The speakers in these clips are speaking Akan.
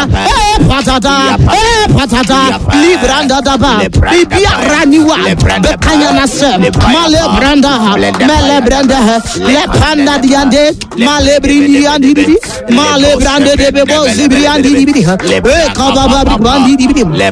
Eh, patata, eh, patata, libranda daba, bibiara niwa, bekanya nasem, male branda ha, mele branda ha, le panda diande, male brindi andi bidi, male brande de bebo zibri andi bidi ha, eh, kababa brandi bidi, le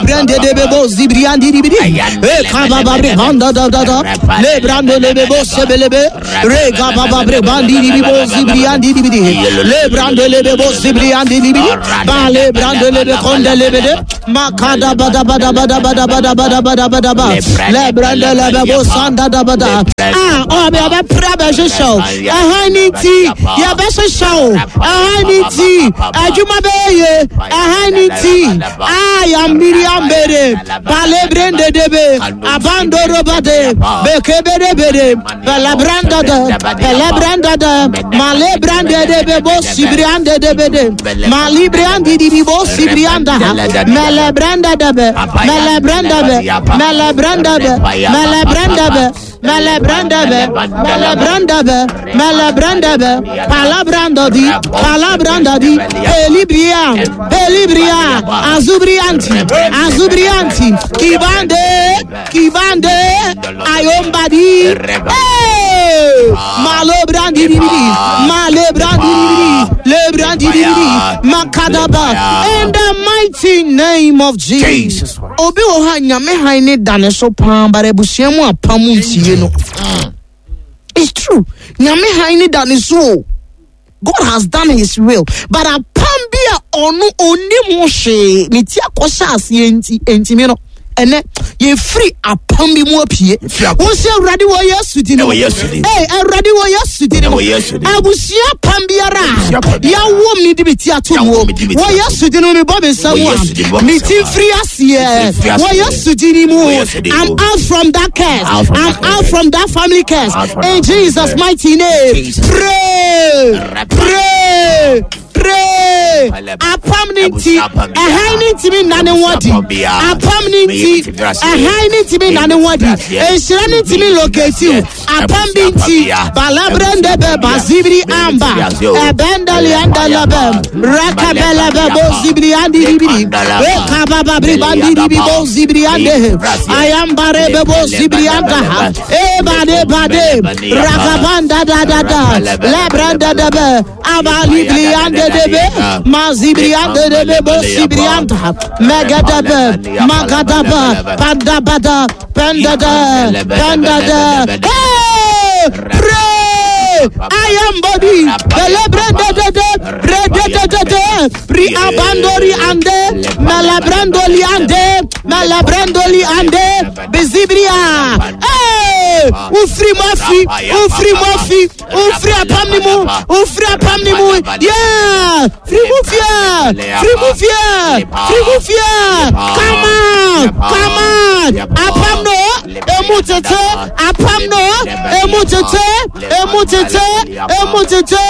brande de bebo zibri andi bidi, eh, kababa branda da da da, le brande le bebo sebelebe, re kababa brandi bidi zibri andi bidi, le brande le bebo zibri andi bidi, bale brande le konde le bede, makada bada bada bada bada bada bada bada bada ba, le brande le bebo sanda da bada. Ah, oh, me abe pra be hyehyɛ o. Ɛhan ne nti, yɛbɛhyehyɛ o. Ɛhan ne nti, adwuma bɛyɛ ye. Ɛhan ne nti, ah, yambiri ambere, bale brende debe, abandoro bade, bekebere bere, bele branda de, bele branda de, male brande debe bo sibri ande debe de, mali brandi dibi bo sibri anda ha, mele branda debe, mele branda be, mele branda be, mele branda be. Mele branda be, mele branda be, mele branda be, palabranda di, palabranda di, pelibria, pelibria, azubrianti, azubrianti, kibande, kibande, ayombadi, hey, malo brandi di di, male brandi di di, le brandi di di, makadaba, in the mighty name of Jesus. Obi wɔ hɔ a nyame han ne da ne so paa bara abusua mu apam ntie no. It's true. Nyame han ne da ne so o. God has done his will. But apam bi a ɔno onim ho hwee ne ti akɔhyɛ aseɛ nti ntimi no. Ɛnɛ yɛfiri apam bi mu apue. Wo sɛ Awurade wɔ Yesu din mu. Ee Awurade wɔ Yesu din mu. Abusua apam biara a yɛawo mi de mi ti ato mu. Wɔ Yesu din mu mebɔ me nsa mu a me ti mfiri aseɛ. Wɔ Yesu din mu. I'm out from that curse. I'm out from that family curse. In Jesus' mighty name. Pray. Pray. Pray. Apam ne nti, ɛhan ne ntumi nna ne ho adi. Apam ne nti, ɛhan ne ntumi nna ne ho adi. Nhyira ne ntumi locate you. Apam bi nti, balabrende bɛ bazibiri amba. Ɛbɛndali andalabɛ, rakabɛlɛbɛ bozibiri andibiri. Ekabababiri bandibiri bozibiri andehe. Ayambare bɛ bozibiri andaha. Ebade bade, rakabanda da da da. Lebrende debe, abalibri ande debe, mazibri ande debe, bosibri anda. Megadebe, magadaba, pandabada, pendada, pendada. Hey! Pray! I am body. Celebrate de de de de de de pri abandori ande malabrandoli ande malabrandoli ande bezibria. Hey! Ufri mafi, ufri mafi, ufri apam ni mu, ufri apam ni mu. Yeah! Free mu fie, free mu fie, free mu fie. Come on, come on. Apam no, emu tete, apam no, emu tete, emu tete, emu tete,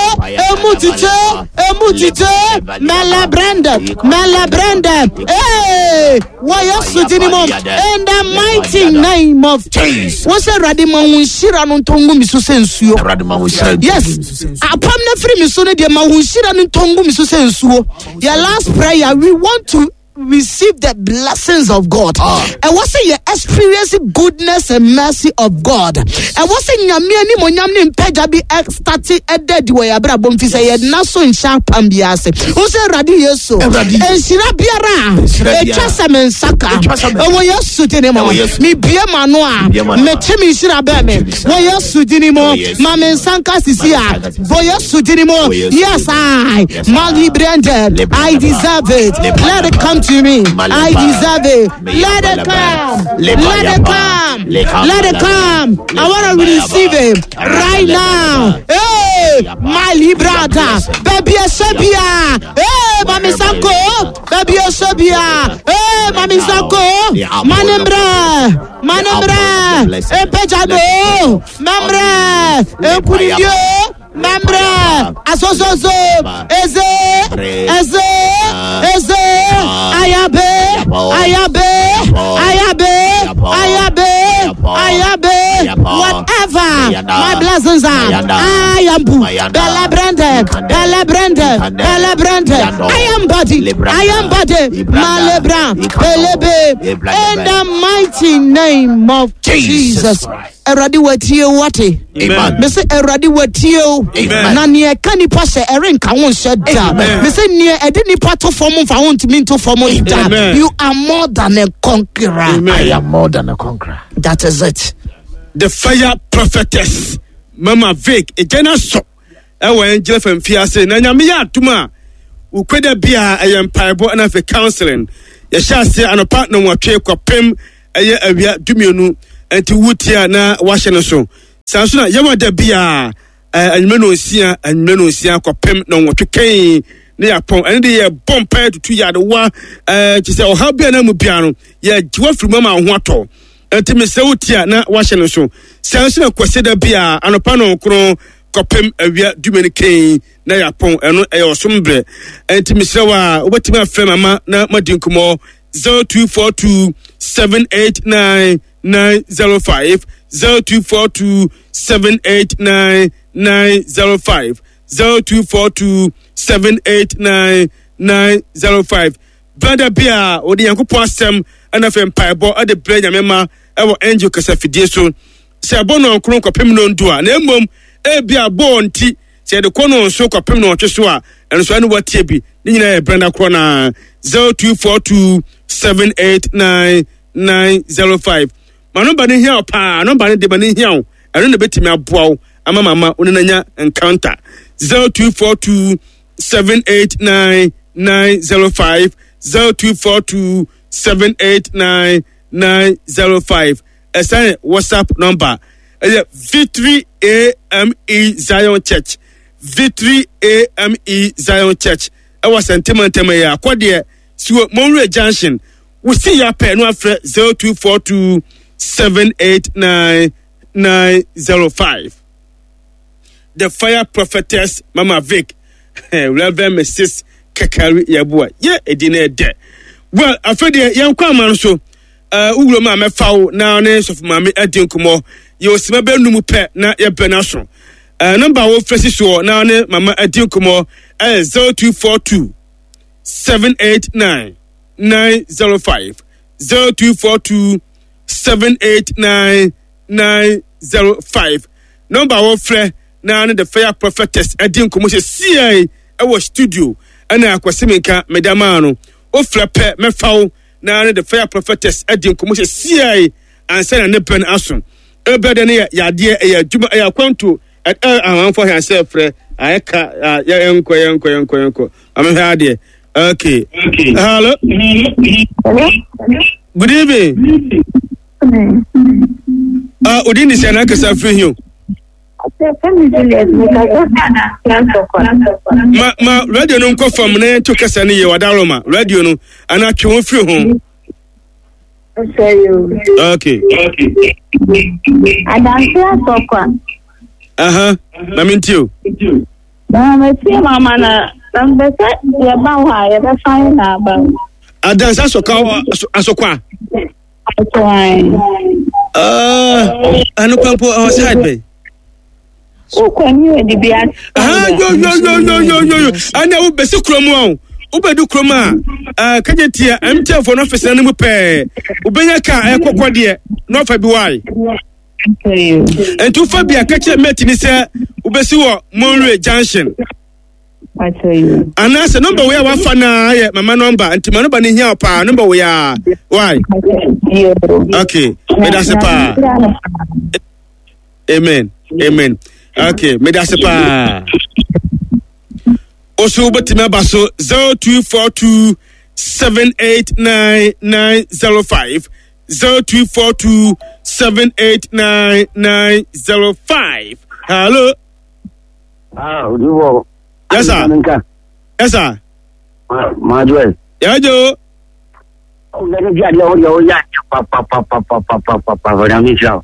emu tete, emu tete. Mele brande, mele brande. Hey, wɔ Yesu din mu. In the mighty name of Jesus. Wọ́n sẹ́ Awurade ma wo nhyira no ntɔ ngu mi so sɛ nsuo. Awurade ma wo nhyira nto Yes. ngu mi so sɛ nsuo. Apam na firi mi so no deɛ ma wo nhyira no ntɔ ngu mi so sɛ nsuo. Your last prayer, we want to receive the blessings of God. Ɛwɔ sɛ yɛ experience goodness and mercy of God. Ɛwɔ sɛ nyame animonyam ne mpagya bi ɛstarte ɛda adi wɔ yɛ abrabɔ mfi sɛ yɛna so nhyɛ apam bi ase. Wo sɛ Awurade Yesu. Awurade Yesu. Nhyira biara a Nhyira ɛtwa biara. sɛ me nsa ka. Ɛtwa sɛ me nsa Ɛwɔ Yesu din mu. Ɛwɔ Yesu. Mebue m'ano a Mebue m'ano a. mete me nhyira bɛn me. Mete me nhyira Wɔ Yesu din mu. Ɛwɔ Yesu. Ma me nsa nka sisi Ma me a. nsa nka sisi. Wɔ Yesu din mu. Wɔ Yesu Yes, din mu. I. Yes, I. Mali Branded. I deserve it. Let it come to me. I deserve it. Let it come. Let it come. Let it come. I want to receive it right now. Hey, my librata. Baby Esebia. Hey, Mami Sanko. Baby Esebia. Hey, Mami Sanko. Manembre. Manembre. Epejado. Membre. Enkunidio. Membre. Asososo. Eze. Eze. Eze. Ayabe. Ayabe. Ayabe. Ayabe. Ayabe. Whatever my blessings are, I am Belebrande, Belebrande, Belebrande. I am body, I am body, Malebra, Belebe, in the mighty name of Jesus. Awurade watie wo wate. Mese Awurade watie wo. Na nea ɛka nipa hyɛ ɛrenka wo nhyɛ da. Mese nea ɛde nipa to fam mfa wo ntumi nto fam da. You are more than a conqueror. I am more than a conqueror. That is it. The fire prophetess Mama Vic egya no asɔ ɛwɔ Angel FM fiase na nyame yɛ adom a wokwada bia ɛyɛ mpaebɔ ɛna afei counseling yɛhyɛ ase anɔpa nɔnwɔtwe kɔpem ɛyɛ awia dumienu nti wotie a na wahyɛ no so saa nso na yɛwɔ da bia anwummerɛ nonsia anwummerɛ nonsia kɔpem nɔnwɔtwe kɛn ne yɛapɔn ɛne de yɛbɔ mpae tutu yadewa ɛɛ kyerɛ sɛ ɔhaw bia na mu bia no yɛgye wafiri mu ama wo ho atɔ Enti mesrɛ wo tie a na woahyɛ no nso. Saa nso na Kwasida biara anɔpa nɔnkron kɔpem awia dumienu kɛn na yɛapɔn. Ɛno ɛyɛ ɔsom berɛ. Enti mesrɛ wo a wobɛtumi afrɛ mama na moadi nkɔmmɔ 0242 789 905 0242 789 905 0242 789 905 Berɛ bi a wɔde Nyankopɔn asɛm ɛna afei mpaebɔ de brɛ Nyame ma ɛwɔ angel kasafidie so sɛ ɛbɔ nɔnkron kɔpem nɔndu a, na mmom ebi a bɔɔ nti sɛ yɛde kɔ nɔnso kɔpem nɔnwɔtwe so a, ɛno nso ɛne watie bi. Ne nyinaa yɛ brɛnda korɔ naa 0242 789 905. Ma nɔmba no hia wo paa, nɔmba no de ma no hia wo, ɛno na ɛbɛtumi aboa wo ama mama wo ne no anya encounter 0242 789 905 0242 789 905. Ɛsan yɛ WhatsApp number, ɛyɛ Victory AME Zion Church, Victory AME Zion Church ɛwɔ Sɛntemantam ɛyɛ akɔdeɛ siwɔ Monwura Junction. Wosi yɛ apɛ no afrɛ 0242 789 905. The Fire Prophetess Mama Vic, Reverend Mrs. Kekari Yeboah. Yɛ edi na ɛdɛ. Well, afei deɛ yɛn kɔ ama no so. Uh, wowura mu a mɛfa wo na ne sɔfo maame adi nkɔmmɔ. Yɛ osima bɛ num pɛ na yɛbrɛ no aso. Uh, nɔmba a wofrɛ si soɔ na ne mama adi nkɔmmɔ ɛyɛ 0242 789 905 0242 789 905 nɔmba a wɔfrɛ na ne the fire prophetess adi nkɔmmɔ sɛ siai ɛwɔ studio ɛna akwasi menka meda maa no wofrɛ pɛ mɛfa wo na ne the fire prophetess adi nkɔmmɔ sɛ siai ansa na ne bɛn aso ɛbɛ dɛ ne yɛ yadeɛ ɛyɛ adwuma ɛyɛ akwantuo ɛɛ amanfoɔ hɛn sɛ frɛ ayɛ ka yɛnkɔ yɛnkɔ yɛnkɔ yɛnkɔ amehwɛ adeɛ. Okay. Okay. Hello. Hello. Good evening. Ah, odi ni sɛ n'ankasa firi hin o. Ma ma radio no nkɔ fam na yɛnto kasa no yie wadaro ma radio no anaa twe ho firi ho. Okay. Adanse asɔkwa. Aha, na mi nti o. Na metie mama na na mpɛ sɛ yɛba hɔ a yɛbɛfa yɛ na aba. Adanse asɔkwa asɔkwa. Ɛno kwan po ɛwɔ side bɛn. Wokɔ ni odi bi ase. Yo yo yo yo yo yo yo ɛnna wo bɛsi kurom a o wobɛdu kurom a ɛɛ kagye tia MTN fo no ɔfisi no mu pɛɛ wobɛnya kaa ɛkɔkɔ deɛ na ɔfa bi wae. Nti wofa bi a kakyɛ mate ni sɛ wobɛsi wɔ Monroe Junction. Anaasɛ nɔmba wei a wafa no ara yɛ mama nɔmba nti ma nɔmba no hia wo paa nɔmba wei a why okay medase paa amen amen okay medase paa oso wobɛtumi aba so 0242 789905 0242 789905 hello. Ah, odiwɔ. Yes sir. Yes sir. Maa jɔ ye. Y'a jɔ. Ɔlɔdɛ bi adeɛ o deɛ o y'a papapapapapapa ɔnyame nhyira wo.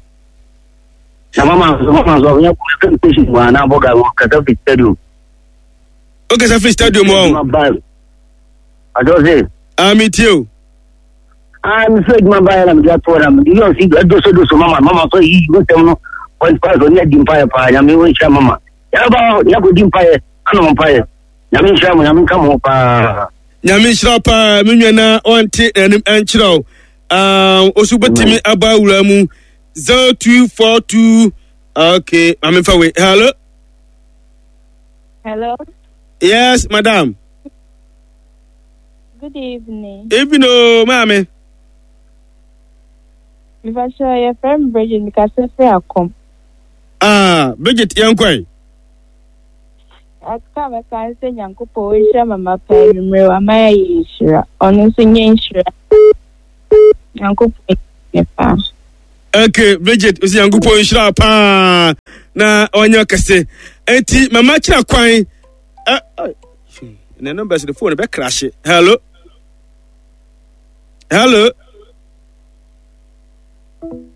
Na mama nso mama nso ɔnyɛ kò kò si mu ana bɔ ga kasa fi stadium. O kasa fi stadium o. Adɔ se. Ami tie o. Ah, mefrɛ adwuma baeɛ na mede atoɔ na mede yɛ ɔsi adosodoso mama mama sɛ yi wosɛm no point ɔne adi mpaeɛ paa Nyame ɔnhyira mama yɛbɛba hɔ yɛakɔdi mpaeɛ anom mpaeɛ. Nyame nhyira mo, Nyame nka mo ho paa. Nyame nhyira paa me nua na ɔnte n'anim ɛnkyerɛ wo. Ah, osu bɛtumi aba awura mu 0242 okay, maame fa wei. Hello. Hello. Yes, madam. Good evening. Evening, oh, maame. Mepakyɛ yɛfrɛ me Bridget mekasa firi Akɔm. Ah, Bridget yɛnkɔe. Aka bɛka sɛ Nyankopɔn ɔnhyira mama paa anwummerɛ wama yɛayɛ nhyira. Ɔno nso nyɛ nhyira. Nyankopɔn ne paa. Okay, Bridget, osi Nyankopɔn nhyira paa na ɔnyɛ kɛse. Enti mama kyerɛ kwan. Eh, eh, ne numbers the phone bɛ crash. Hello. Hello.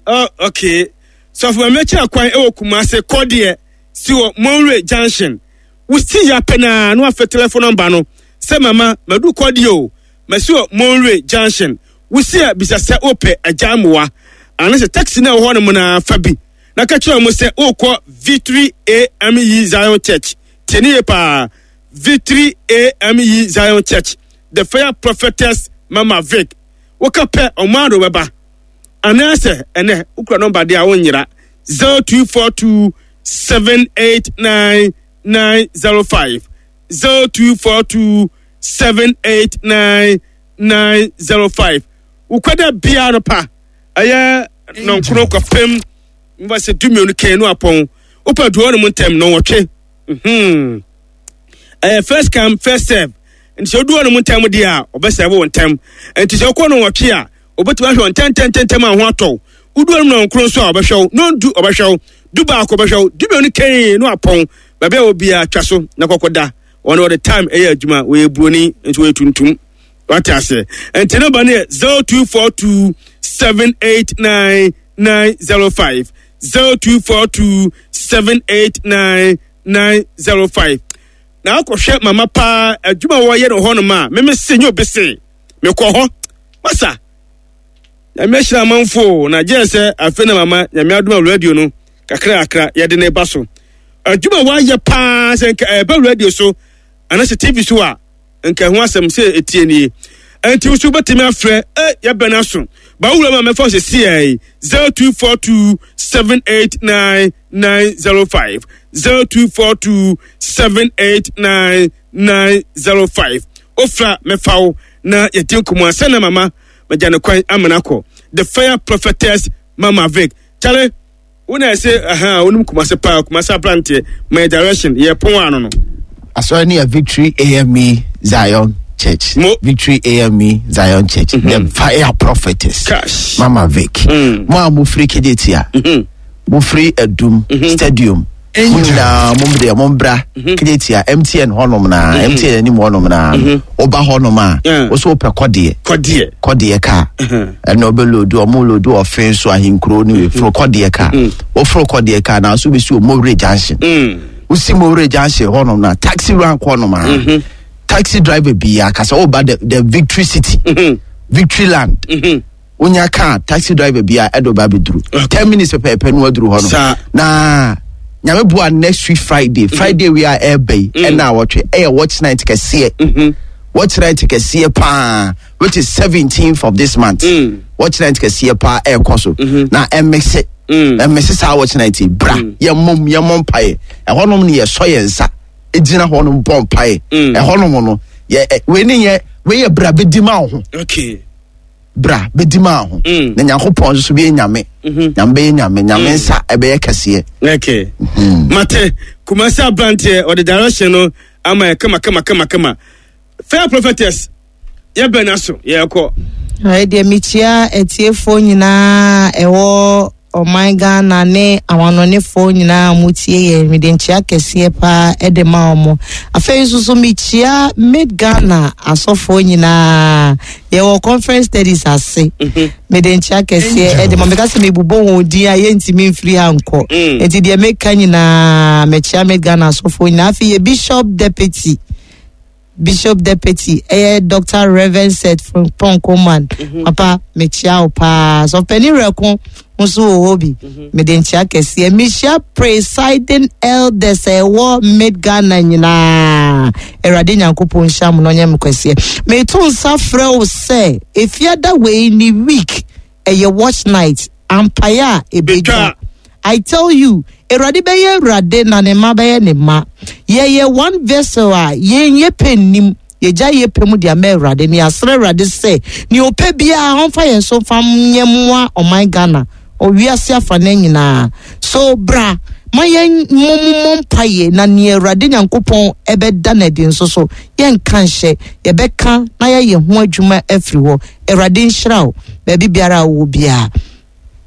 Oh, okay. Sɔfo mama kyerɛ kwan ɛwɔ Kumase kɔdeɛ si wɔ Monroe Junction. Wosi ya pɛ naa na wafɛ telephone number no sɛ mama madu kɔdeɛ o. Masi wɔ Monroe Junction. Wosi a bisa sɛ wopɛ agya mmoa. Anaasɛ taxi na ɛwɔ hɔ nom na fa bi. Na ka kyerɛ wɔn sɛ wokɔ Victory AME Zion Church. Tie ne yie paa. Victory AME Zion Church. The Fire Prophetess Mama Vic. Woka pɛ ɔmo ado bɛba. Anaasɛ ɛnɛ wokura nɔmba deɛ a wonyera 0242 789 905 0242 789 905 Wokwada biara no pa ɛyɛ nɔnkoro kɔpem mfa sɛ dumienu kɛn no apɔn wopɛ duɔ no mu ntɛm nɔnwɔtwe mhm ɛyɛ first come first serve nti sɛ woduɔ no mu ntɛm deɛ a ɔbɛsɛve wo ntɛm nti sɛ wokɔ nɔnwɔtwe a obetumi ahwɛ wo ntɛntɛntɛntɛm a ho atɔ wo. Wodu anum nɔnkron nso a ɔbɛhwɛ wo, nɔndu ɔbɛhwɛ wo, du baako ɔbɛhwɛ wo, dumienu kɛn no apɔn. Baabi a wɔ biara twa so na kɔkɔ da. Wɔn wɔde time ɛyɛ adwuma, wɔyɛ buroni nso wɔyɛ tuntum. Wate aseɛ? Nti nɔmba no yɛ 0242 789 905 0242 789 905 na akɔhwɛ mama paa adwuma a wɔyɛ no hɔnom a meme se nyɛ obi se mekɔ hɔ masa nyame ahyira amanfo na gye sɛ afei na mama nyame adom a radio no kakra kakra yɛde ne ba so adwuma wayɛ paa sɛ nka ɛbɛ radio so anaasɛ tv so a nka ɛho asɛm sɛ ɛtie nie ɛnti wo so wobɛtumi afrɛ ɛ yɛbɛn aso bawura ma mɛfa sɛ siɛ 0242 789 905 0242 789 905 ofra mɛfa wo na yɛdi nkɔmmɔ ansa na mama magya no kwan amena kɔ the fire prophetess Mama Vic kyale wo na ɛsɛ aha wonim Kumase paa Kumase abranteɛ my direction yɛ pɔn ano no. Asɔre no yɛ Victory AME Zion Church. Mo. Victory AME Zion Church. Mm -hmm. The Fire Prophetess. Cash. Mama Vic. Mo a mofiri Kejetia. Mm -hmm. Mofiri Adum mm -hmm. Stadium. Mo nyinaa mo deɛ mo mbra mhm. Kejetia MTN hɔnom na MTN mhm. anim hɔnom na woba mhm. hɔnom a wosɛ wopɛ kɔdeɛ kɔdeɛ kɔdeɛ kaa ɛna ɔbɛ lodu ɔmo lodu ɔfen so ahenkuro ne weforo kɔdeɛ kaa woforo kɔdeɛ kaa na nso bɛsi Omowere junction wosi Mowere junction hɔnom na taxi rank hɔnom a taxi driver bi akasa woba the victory city victory land wonya kaa taxi driver bi a ɛde ɔba abɛduru 10 minutes pɛpɛɛpɛ no waduru hɔ no na Nyame boa next week Friday, Friday wei a ɛreba yi ɛna awɔtwe ɛyɛ watch night kɛseɛ, watch night kɛseɛ paa, which is 17th of this month. Watch night kɛseɛ paa ɛrekɔ so na ɛmese ɛmese saa watch night yi bra yɛmmom yɛmmɔ mpaeɛ. Ɛhɔnom no yɛsɔ yɛn nsa gyina hɔnom bɔ mpaeɛ. Ɛhɔnom no yɛ wei ne yɛ wei yɛ bra bɛdi ma wo ho. Bra bɛdi maa ho mm. Na Nyankopɔn nso so bɛyɛ Nyame mhm. Nyame bɛyɛ Nyame Nyame mm. nsa ɛbɛyɛ kɛseɛ. Okay. Mate Kumasi aberanteɛ ɔde direction no ama yɛ kama kama kama kama. Fair prophetess yɛbɛn aso yɛkɔ. Ɔyɛ deɛ mekyia atiefoɔ nyinaa ɛwɔ ɔman Ghana ne amanɔnefoɔ nyinaa a wɔtie yɛn. Mede nkyia kɛseɛ paa de ma wɔn. Afei nso so mekyia Mid Ghana asɔfoɔ nyinaa. Yɛwɔ conference studies ase. Mede nkyia kɛseɛ de ma. Meka sɛ mebobɔ wɔn din a yɛntumi mfiri ha nkɔ. Nti deɛ meka nyinaa mekyia Mid Ghana asɔfoɔ nyinaa. Afei yɛ Bishop Deputy. Bishop Deputy ɛyɛ Dr. Reverend Seth Frimpong Coman. Papa mekyia wo paa. Sɔfo Rɛko nso wɔ hɔ bi. Mede nkyia kɛseɛ. Mehyia presiding elders a ɛwɔ mid Ghana nyinaa. Awurade Nyankopɔn nhyira mo na ɔnyɛ mo kɛseɛ. Meto nsa frɛ wo sɛ efiada wei ni week ɛyɛ watch night ampaeɛ a ebedwa. Betwa. I tell you, Awurade bɛyɛ Awurade na ne mma bɛyɛ ne mma. Yɛyɛ one vessel a yɛn yɛ pɛ nnim. Yɛgya yɛ pɛ mu de ama Awurade ne yɛasrɛ Awurade sɛ nea ɔpɛ biara ɔmfa yɛn so mfa nyɛ mmoa ɔman Ghana ɔwiase afa no nyinaa. So bra ma yɛn mmɔmmɔ mpaeɛ na nea Awurade Nyankopɔn ɛbɛda no adi nso so yɛnka nhyɛ yɛbɛka na yɛayɛ ho adwuma afiri hɔ. Awurade nhyira wo baabi biara a wowɔ biara.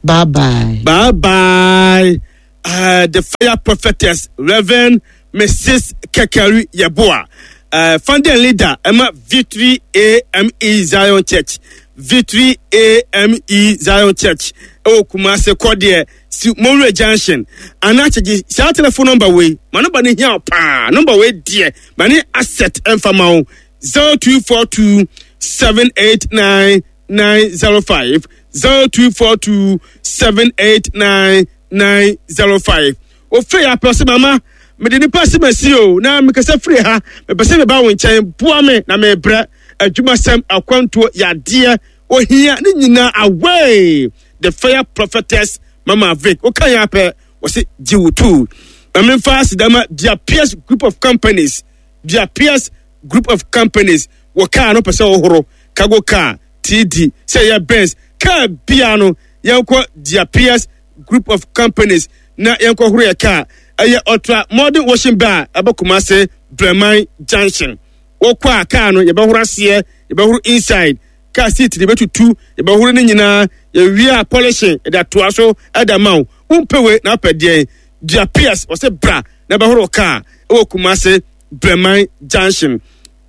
Bye bye. Bye bye. The fire prophetess, Reverend Mrs. Kekeri Yeboah, founding leader, Emma Victory AME Zion Church. Victory AME Zion Church. Ɛwɔ Kumase Kɔdeɛ, si Monroe Junction. Anaa kyegye saa telephone number wei. Ma number no hia wo paa. Number wei deɛ, ma ne asset ɛmfa ma wo. 0242 789 905 0242 789 905 ofei apɛ sɛ mama mede nipa sɛ masi o na mekasa firi ha mepɛ sɛ meba wo nkyɛn boa me na mebrɛ adwumasɛm akwantuo yadeɛ ohia ne nyinaa away the fire prophetess mama vic woka yɛ apɛ wɔse gye wo tu ma memfa asedama Diapias group of companies. Diapias group of companies wɔ kaa no pɛ sɛ wɔhoro cargo car TD sɛ ɛyɛ Benz kaa bia no yɛnkɔ Diapias group of companies na yɛnkɔ horo yɛ kaa. Ɛyɛ ultra modern washing bar ɛbɛ Kumase Breman Junction. Wɔkɔ a kaa no yɛbɛhoro aseɛ, yɛbɛhoro inside car seat de bɛtutu, yɛbɛhoro ne nyinaa, yɛwie a polishing yɛde atoa so ɛda ma wo. Wompɛ wei na apɛ deɛn? Diapias wɔsɛ bra na ɛbɛhoro kaa ɛwɔ Kumase Breman Junction.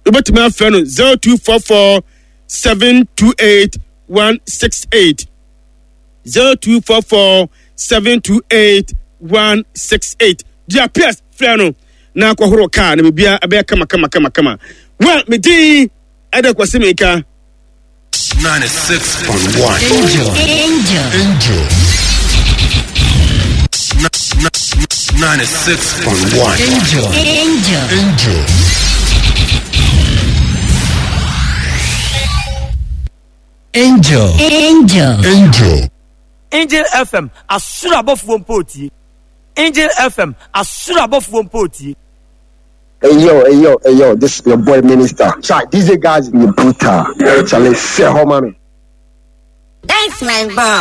Wobɛtumi afrɛ no 0244 728 168 0244 728 168. Diapias frɛ no na akɔhoro kaa na biribiara ɛbɛyɛ kama kama kama kama. Well, me din ɛda Kwasi Mika. 96.1. Angel. Angel. Angel. 96.1. Angel. Angel. Angel. Angel. Angel. Angel. Angel FM asoro abɔfoɔ mpo tie. Angel FM asoro abɔfoɔ mpo tie. Hey yo, hey yo, hey yo, this is your boy Minister. Chai, DJ guys, you brutal. Charlie, say, mommy. That's my boy.